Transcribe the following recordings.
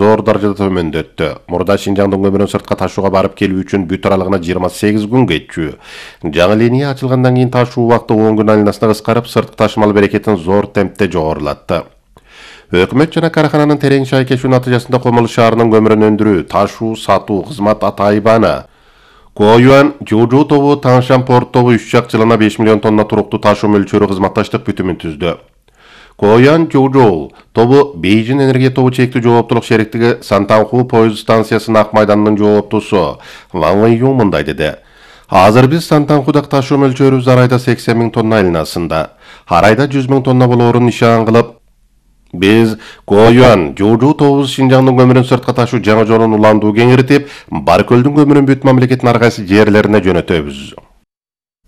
зор даражада төмөндөттү. Мурда Шинжаңдын көмүрүн сыртка ташууга барып келүү үчүн бүт аралыгына 28 күн кетчү. Жаңы линия ачылгандан кийин ташуу убакыты 10 күн айланасына кыскарып, сырткы ташымал берекетин зор темпте жогорулатты. Өкмөт жана карахананын терең шайкешүү натыйжасында Комол шаарынын көмүрүн өндүрүү, ташуу, сатуу кызмат атайбаны. Коюан Жужу тобу Таңшан порт тобу 3 жак жылына 5 миллион тонна туруктуу ташуу мөлчөрү кызматташтык бүтүмүн түздү. Коюан Жужу тобу Бейжин энергия тобу чектүү жооптулук шериктиги Сантанху поезд станциясынын ак майданынын жооптусу Ван Вэйюн мындай деди. Азыр биз Сантанхудак ташуу мөлчөрүбүз арайда 80 000 тонна айланасында, арайда 100 000 тонна болоорун нишан кылып, биз Коюан Жужу тобубуз Шинжаңдын көмүрүн сыртка ташуу жаңы жолун уландуу кеңиртип, Баркөлдүн көмүрүн бүт мамлекеттин ар кайсы жерлерине жөнөтөбүз.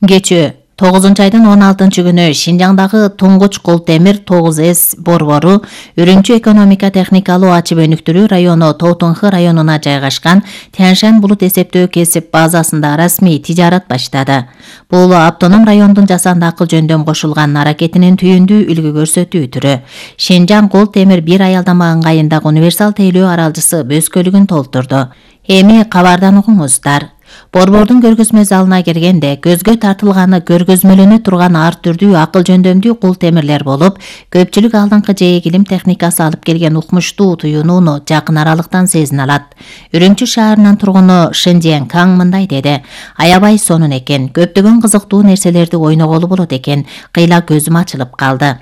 Кечээ 9-айдын 16-күнү Шинжаңдагы туңгуч кол темир 9С борбору Үрүмчү экономика техникалуу ачып өнүктүрүү району Тоотунхы районуна жайгашкан Тяньшань булут эсептөө кесип базасында расмий тижарат баштады. Бул автоном райондун жасанды акыл жөндөм кошулган аракетинин түйүндүү үлгү көрсөтүү түрү. Шинжаң кол темир бир аялдама ыңгайындагы универсал тейлөө аралжысы бөскөлүгүн толтурду. Эми кабардан угуңуздар. Борбордун көргөзмө залына киргенде көзгө тартылганы көргөзмөлөнө турган ар түрдүү акыл жөндөмдүү кул темирлер болуп, көпчүлүк алдыңкы жээк илим техникасы алып келген укмуштуу туюунууну жакын аралыктан сезине алат. Үрүмчү шаарынын тургуну Шэнжен Каң мындай деди. Аябай сонун экен, көптөгөн кызыктуу нерселерди ойноголу болот экен, кыйла көзүм ачылып калды.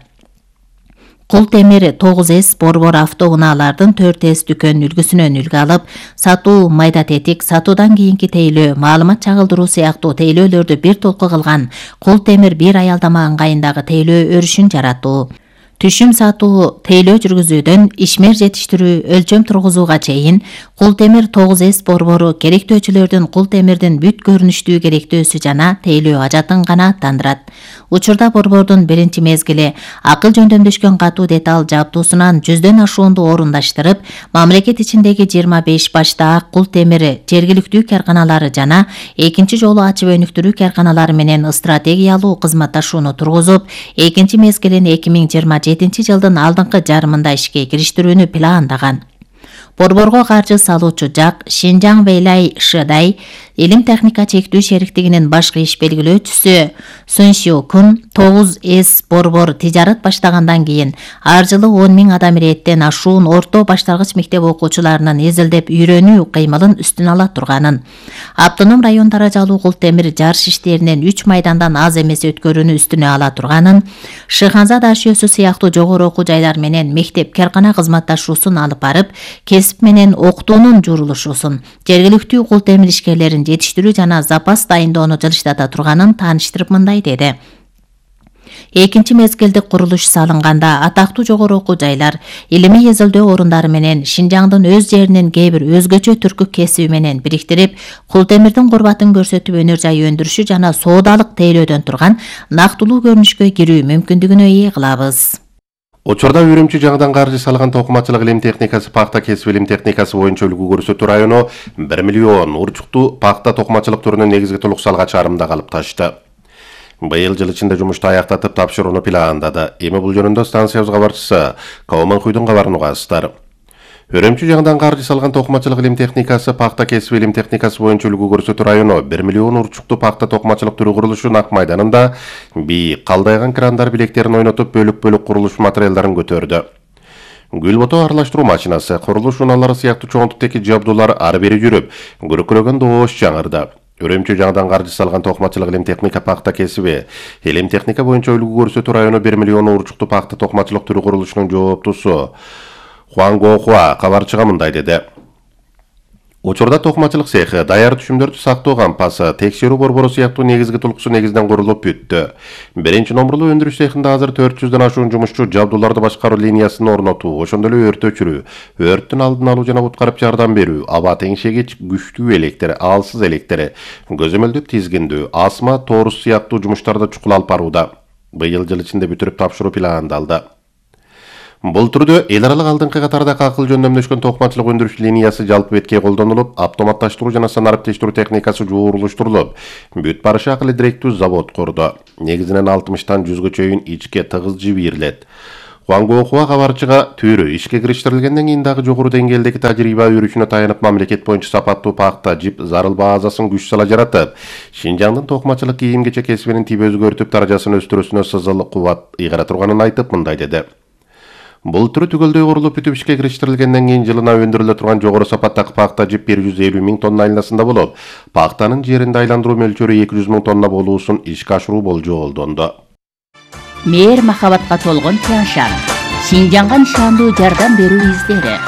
Кул темир 9С борбор автоунаалардын 4С дүкөн үлгүсүнөн үлгү алып, сатуу, майда тетик, сатуудан кийинки тейлөө, маалымат чагылдыруу сыяктуу тейлөөлөрдү бир толку кылган кул темир бир аялдама ыңгайындагы тейлөө өрүшүн жаратуу. Түшүм сатуу, тейлөө жүргүзүүдөн ишмер жетиштирүү, өлчөм тургузууга чейин кул темир 9С борбору керектөөчүлөрдүн кул темирдин бүт көрүнүштүү керектөөсү жана тейлөө ажатын канааттандырат. Учурда борбордун биринчи мезгили акыл жөндөмдөшкөн катуу деталь жабдуусунан 100дөн ашуунду орундаштырып, мамлекет ичиндеги 25 башта ак кул темири жергиликтүү карканалары жана экинчи жолу ачып өнүктүрүү карканалары менен стратегиялуу кызматташууну тургузуп, экинчи мезгилин 2027 жылдын алдыңкы жарымында ишке кириштирүүнү пландаган. Борборго каржы салуучу жак Шинжаң Вэйлай Шыдай илим техника чектүү шериктигинин башкы иш белгилөөчүсү Суншио Кун 9С борбор тижарат баштагандан кийин ар жылы 10 000 адам иреттен ашуун орто башталгыч мектеп окуучуларынын эзилдеп үйрөнүү кыймылын үстүн ала турганын, автоном район даражалуу кул темир жарыш иштеринен 3 майдандан аз эмес өткөрүүнү үстүнө ала турганын, Шыханза дашөөсү сыяктуу жогору окуу жайлар менен мектеп каркана кызматташуусун алып барып, кесип менен окутуунун журулушуусун, жергиликтүү кул темир ишкерлерин жетиштирүү жана запас дайындоону жылыштата турганын тааныштырып мындай деди. Экинчи мезгилдик курулуш салынганда атактуу жогору окуу жайлар, илимий эзилдөө орундары менен Шинжаңдын өз жеринин кээ бир өзгөчө түркү кесиби менен бириктирип, кул темирдин курбатын көрсөтүп өнөр жай өндүрүшү жана соодалык тейлөөдөн турган нактылуу көрүнүшкө кирүү мүмкүндүгүнө ээ кылабыз. Учурда Үрүмчү жаңыдан каржы салган токумачылык илим техникасы, пахта кесип илим техникасы боюнча үлгү көрсөтүү району 1 миллион урчуктуу пахта токумачылык түрүнүн негизги толук салга чарымда калып ташты. Быйыл жыл ичинде жумушту аяктатып тапшырууну пландады. Эми бул жөнүндө станциябыз кабарчысы Кауманхуйдун кабарын угасыздар. Үрүмчү жаңыдан каржы салган токумачылык илим техникасы, пахта кесип илим техникасы боюнча үлгү көрсөтүү району 1 миллион урчуктуу пахта токумачылык түрү курулушунун ак майданында бийик калдайган крандар билектерин ойнотуп бөлүк-бөлүк курулуш материалдарын көтөрдү. Гүл бото аралаштыруу машинасы, курулуш унаалары сыяктуу чоңдуктагы жабдуулар ары бери жүрүп, күрөккөрөгөн доош жаңырды. Үрүмчү жаңыдан каржы салган токумачылык илим техника, пахта кесиби илим техника боюнча үлгү көрсөтүү району 1 миллион урчуктуу пахта токумачылык түрү курулушунун жооптусу Хуан Гохуа кабарчыга мындай деди. Учурда токумачылык цехи, даяр түшүмдөрдү сактоо кампасы, текшерүү борбору сыяктуу негизги толкусу негизинен курулуп бүттү. Биринчи номурлуу өндүрүш цехинде азыр 400дөн ашуун жумушчу жабдууларды башкаруу линиясын орнотуу, ошондой эле өрт өчүрүү, өрттүн алдын алуу жана куткарып жардам берүү, аба теңшегич, күчтүү электр, алсыз электр, көзөмөлдөп тизгиндүү, асма, торус сыяктуу жумуштарды чукул алып барууда. Быйыл жыл ичинде бүтүрүп тапшыруу пландалды. Бул түрдө эл аралык алдыңкы катардагы акыл жөндөмдөшкөн токумачылык өндүрүш линиясы жалпы бетке колдонулуп, автоматташтыруу жана санариптештирүү техникасы жууруштурулуп, бүт барышы акылы директүү завод курду. Негизинен 60тан 100гө чейин ичке тыгыз жип ийрилет. Хуангохуа кабарчыга түрү ишке кириштирилгенден кийин дагы жогору деңгээлдеги тажрыйба өрүшүнө таянып мамлекет боюнча сапаттуу пахта жип зарыл базасын күч сала жаратып, Шинжаңдын токумачылык кийим-кечек кесибинин тип өзгөртүп даражасын өстүрүүсүнө сызыл кубат ыйгара турганын айтып мындай деди. Бул түрү түгөлдөй курулуп бүтүп ишке кириштирилгенден кийин жылына өндүрүлө турган жогору сапаттагы пахта жип 150 миң тонна айланасында болуп, пахтанын жеринде айландыруу мөлчөрү 200 миң тонна болуусун ишке ашыруу болжолдонду. Мээр махабатка толгон Тяншан. Шинжаңга нишандуу жардам берүү издери.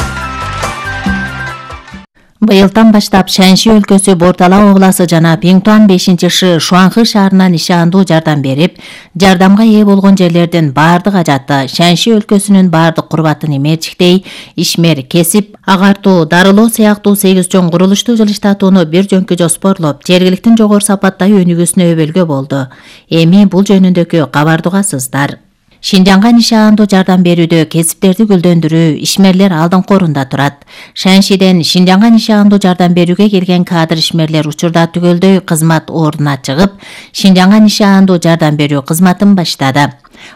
Быйылдан баштап Шанши өлкөсү Бортала обласы жана Пиңтуан 5-ши Шуанхы шаарына нишандуу жардам берип, жардамга ээ болгон жерлердин баардык ажаты Шанши өлкөсүнүн баардык курбатын эмерчиктей, ишмер, кесип, агартуу, дарылоо сыяктуу 8 чоң курулуштуу жылыштатууну бир жөнкү жоспорлоп, жергиликтин жогору сапаттай өнүгүүсүнө өбөлгө болду. Эми бул жөнүндөгү кабарды угасыздар. Шинжаңга нишандуу жардам берүүдө кесиптерди гүлдөндүрүү, ишмерлер алдыңкы орунда турат. Шаншиден Шинжаңга нишандуу жардам берүүгө келген кадр ишмерлер учурда түгөлдөй кызмат ордуна чыгып, Шинжаңга нишандуу жардам берүү кызматын баштады.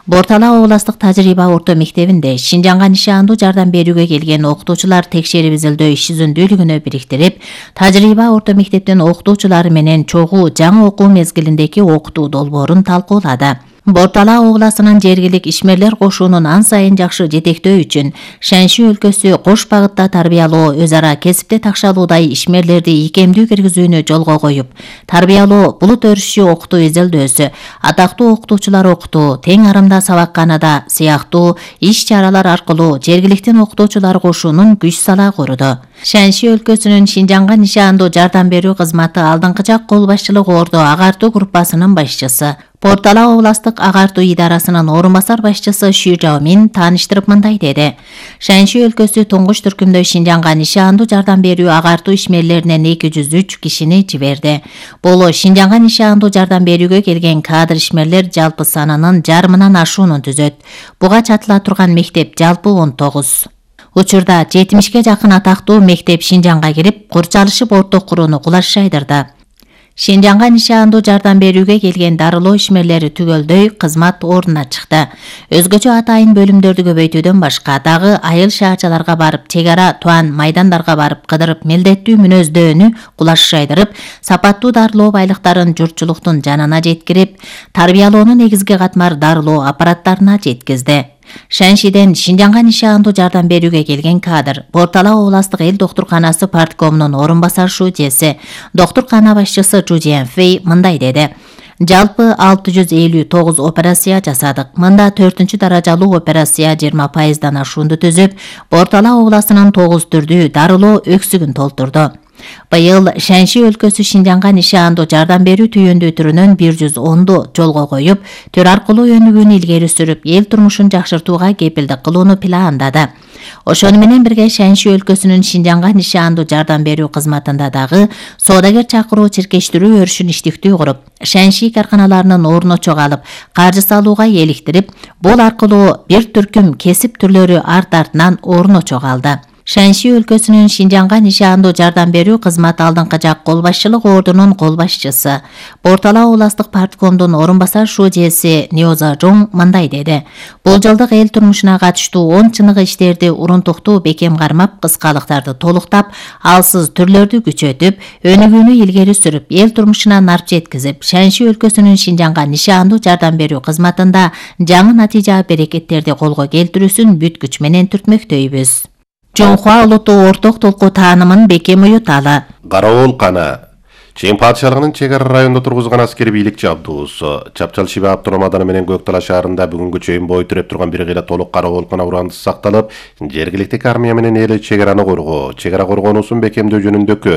Бортала областык тажрыйба орто мектебинде Шинжаңга нишандуу жардам берүүгө келген окутуучулар текшерип изилдөө иш жүзүндүүлүгүнө бириктирип, тажрыйба орто мектептин окутуучулары менен чогуу жаңы окуу мезгилиндеги окутуу долбоорун талкуулады. Бортала обласынын жергилик ишмерлер кошуунун ан сайын жакшы жетектөө үчүн Шанши өлкөсү кош багытта тарбиялоо, өз ара кесипте такшалуудай ишмерлерди ийкемдүү киргизүүнү жолго коюп, тарбиялоо, булут өрүшү окутуу изилдөөсү, атактуу окутуучулар окутуу, тең арымда сабакканада сыяктуу иш-чаралар аркылуу жергиликтин окутуучулар кошуунун күч сала куруду. Шанши өлкөсүнүн Шинжаңга нишандуу жардам берүү кызматы алдыңкы жак кол башчылык ордо агартуу группасынын башчысы, Бортала областык агартуу идарасынын орун басар башчысы Шү Жаомин тааныштырып мындай деди. Шанши өлкөсү туңгуч түркүмдө Шинжаңга нишандуу жардам берүү агартуу ишмерлеринен 203 кишини жиберди. Бул Шинжаңга нишандуу жардам берүүгө келген кадр ишмерлер жалпы санынын жарымынан ашуунун түзөт. Буга чатыла турган мектеп жалпы 19. Учурда 70ке жакын атактуу мектеп Шинжаңга кирип, курчалышып орто курууну кулаш жайдырды. Шинжаңга нишандуу жардам берүүгө келген дарылоо ишмерлери түгөлдөй кызмат ордуна чыкты. Өзгөчө атайын бөлүмдөрдү көбөйтүүдөн башка дагы айыл шаарчаларга барып, чек ара туан майдандарга барып кыдырып, милдеттүү мүнөздөөнү кулаш жайдырып, сапаттуу дарылоо байлыктарын журтчулуктун жанына жеткирип, тарбиялоонун негизги катмар дарылоо аппараттарына жеткизди. Шаншиден Шинжаңга нишандуу жардам берүүгө келген кадр Бортала областык эл доктурканасы парткомунун орун басар шүүжеси, доктуркана башчысы Чжу Жианфэй мындай деди. Жалпы 659 операция жасадык. Мында 4-чү даражалуу операция 20%дан ашуунду түзүп, Бортала обласынын 9 түрдүү дарылоо өксүгүн толтурду. Быйыл Шанши өлкөсү Шинжаңга нишандуу жардам берүү түйүндүү түрүнөн 110ду жолго коюп, төр аркылуу өнүгүүнү илгери сүрүп, эл турмушун жакшыртууга кепилдик кылууну пландады. Ошону менен бирге Шанши өлкөсүнүн Шинжаңга нишандуу жардам берүү кызматында дагы соодагер чакыруу чиркештирүү өрүшүн иштиктүү куруп, Шанши карканаларынын ордуна чогалып, каржы салууга эликтирип, бул аркылуу бир түркүм кесип түрлөрү арт-артынан ордуна чогалды. Шанши өлкөсүнүн Шинжаңга нишандуу жардам берүү кызматы алдыңкы жак кол башчылык ордунун кол башчысы, Бортала областык парткомдун орун басар шүүжеси Ниоза Жоң мындай деди. Бул жылдык эл турмушуна катыштуу 10 чыныгы иштерди урунтуктуу бекем кармап, кыскалыктарды толуктап, алсыз түрлөрдү күчөтүп, өнүгүүнү илгери сүрүп, эл турмушуна нарп жеткизип, Шанши өлкөсүнүн Шинжаңга нишандуу жардам берүү кызматында жаңы натыйжа берекеттерди колго келтирүүсүн бүт күч менен түртмөктөйбүз. Жоңхуа улуттуу орток толку таанымын бекем уюталы. Караоол кана. Чең падышалыгынын чек ара районунда тургузган аскери бийликчи абдуусу Чапчал Шиба автономдук ауданы менен Көктала шаарында бүгүнгү чейин бой түрөп турган бир кыйла толук караоолкана урандысы сакталып, жергиликтик армия менен эл чек араны коргоо, чек ара коргонуусун бекемдөө жөнүндөгү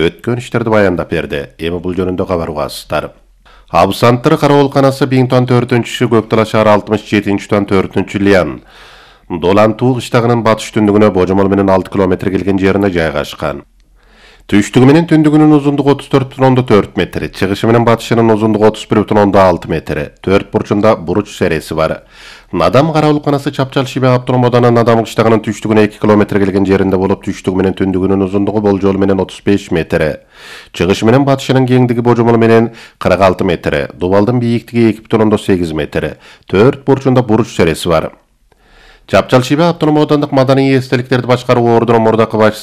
өткөн иштерди баяндап берди. Эми бул жөнүндө кабар угасыздар. Абсанттыр караоолканасы Биңтуан 4-чү, Көктала шаары 67-тан 4-чү Лиан Долантуу кыштагынын батыш түндүгүнө божомол менен 6 километр келген жерине жайгашкан. Түштүгү менен түндүгүнүн узундугу 34,4 метр, чыгышы менен батышынын узундугу 31,6 метр. 4 бурчунда буруч сереси бар. Надам караоолканасы Чапчал Шиба автономдук ауданы Надам кыштагынын түштүгүнө 2 километр келген жеринде болуп, түштүгү менен түндүгүнүн узундугу болжол менен 35 метр. Чыгышы менен батышынын кеңдиги божомол менен 46 метр. Дубалдын бийиктиги 2,8 метр. 4 бурчунда буруч сереси бар. Жапчал Шиба автоном аудандык маданий эстеликтерди башкаруу ордунун мурдакы башчысы